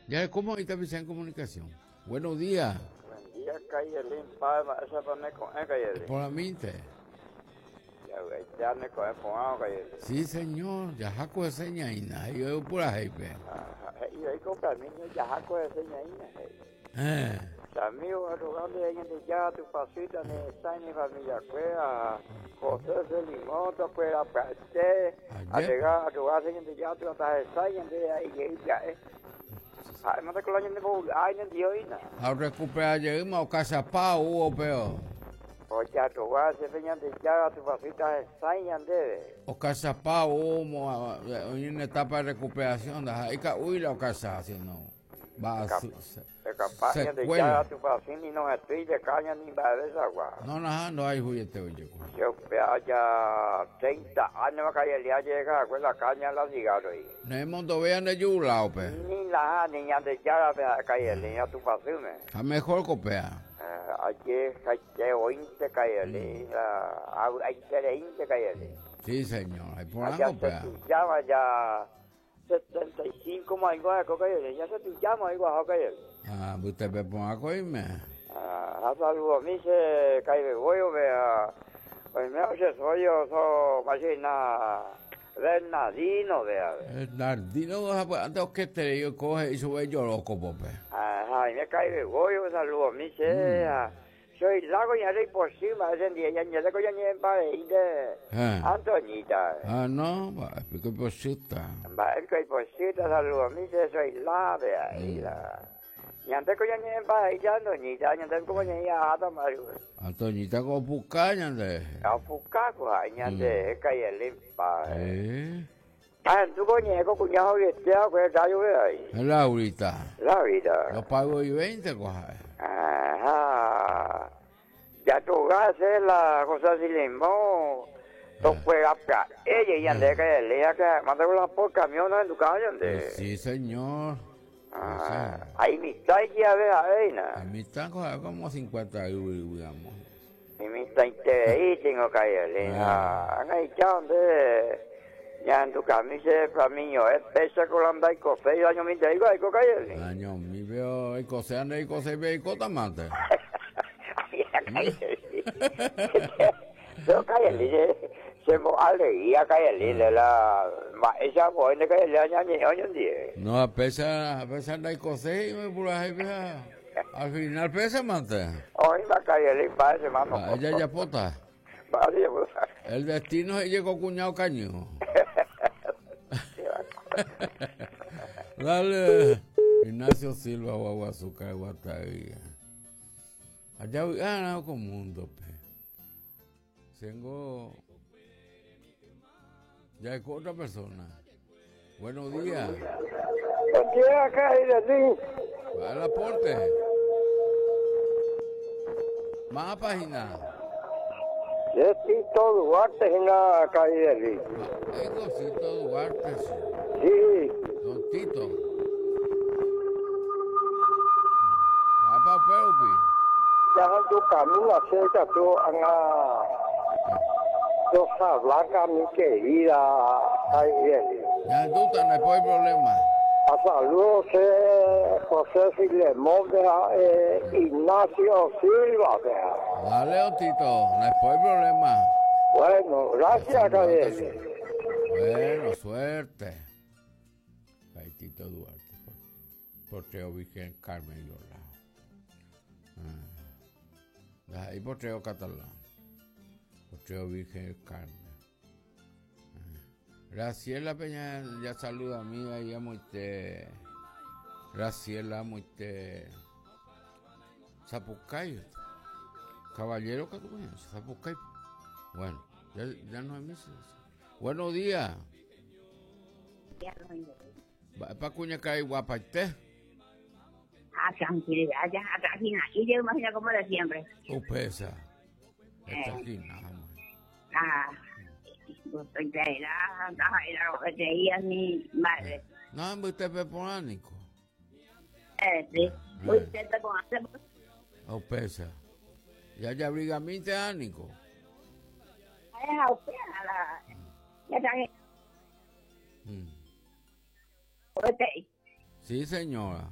Ya, ¿cómo ahí está en comunicación? Buenos días. Buen día, Kayelin, pa, esa pa me coge, Kayelin. Por la mente. Ya, ya me coge, pongado, Kayelin. Sí, señor, ya jaco de señaina, yo pura jefe. Ajá, y ahí con camino, ya jaco de señaina, hey. Eh, Amigo, arrogante, en ya tu pasita, ni está ni familia, cueva, José Selimón, tu cueva, parte, a Ayer. llegar a tu casa, en ya tu hasta el de ahí, ya, eh. Ay, no te coloñen de ay, no dio ina. a recuperar llegamos a casa pa hubo peor. Oye, a tu casa, de ya tu pasita, el de. O casa pa hubo en una etapa de recuperación, ahí ca uy la casa si no. Va a su, se, Capaz de ya secuela. tu pasita y no estoy de caña ni va de esa agua. No, no, no hay juguete oye. Yo vea ya 30 años que ya llega con la caña la cigarro ahí. No es mundo vean de yulao pe. Ni la niña de ya la calle ni tu pasume. A mejor copea. Ayer calle ointe calle la ayer calle. Sí, señor, hay por Allá algo se pea. tu llama ya 75 más igual que ya se tu llama igual calle. Ah, usted me ponga a coirme. Ah, saludo a mí se cae voy vea. Pues me hace soy yo so imagina Bernardino vea. El Nardino, antes que te yo coge y sube yo loco, pope. Ajá, y me cae de goyo, saludo a mí, sea. Soy lago y haré por cima, ese día, ya ya ya ya pa de Eh. Antoñita. Ah, no, va, explico posita. Va, el que por cima, saludo a mí, soy la de ahí, la. Y antes que ya ya pa de Antoñita, ya antes como ya ya ata maru. Antoñita con pucaña de. A fucaco, ay, ya de cae el limpa. Eh, Ah, tú coño, con cuñado que te hago, que rayo ve ahí. es Laurita. La vida. Yo pago y 20, coja. Ajá. Ya tú haces la cosa sin limón. Tú juegas pa ella y ande que le que manda la por camión en tu casa ande. Sí, señor. Ah, ahí mi está ya ve ahí na. A mí están coja, como 50 euros, digamos. Y mi está ahí tengo que le. Ah, ahí ya ande. Ya en tu camisa flaminio es pesa con la anda y café y año mi te digo ahí con calle. Año, mi veo, el cose, ande, el cose, ve, y cota mate. Yo calle se mo alegría calle de la esa buena calle le año año die. No, a pesar, a pesar de cose, y me pura vieja. Al final pesa, mate. Hoy va calle le parece mano. Ah, Ella ya pota. Vale, pues. El destino se llegó cuñado caño. Dale. Ignacio Silva, Guagua Azúcar, Guatavía. Allá voy ah, no, con mundo, pe. Tengo. Ya es con otra persona. Buenos días. Buen día, calle Va al aporte. Más página. Tito Duarte en la calle Egocito Duarte. sí. Sí. Don Tito. Va pa Peupi. Ya tu camino acerca tú a Rosa Blanca, mi querida calle Ya duda, no hay problema. A saludos José Filemón, vea, Ignacio Silva. vea. Dale, don Tito, no hay problema. Bueno, gracias, Gabriel. Bueno, suerte. Ahí Tito Duarte. Porteo Virgen Carmen Yola. Ah. Ahí porteo catalán. Porteo Virgen Carmen. Ah. Graciela Peña ya saluda a mí ahí a Moite. Graciela Moite. Zapucay. Caballero que tú conoces, Zapucay. Bueno, ya, ya no hay misa. Buenos días. Va pa cuña cae guapaite. Ah, tranquilidad, ya, atrás y yo imagino como de siempre. Upesa. Esta esquina, vamos. Ah, era, era, mi madre. No, hombre, usted es polánico. Sí, usted te conoce. Upesa. Ya ya brigaminte ánico. Es a usted, a la. Ya está. Sí, señora.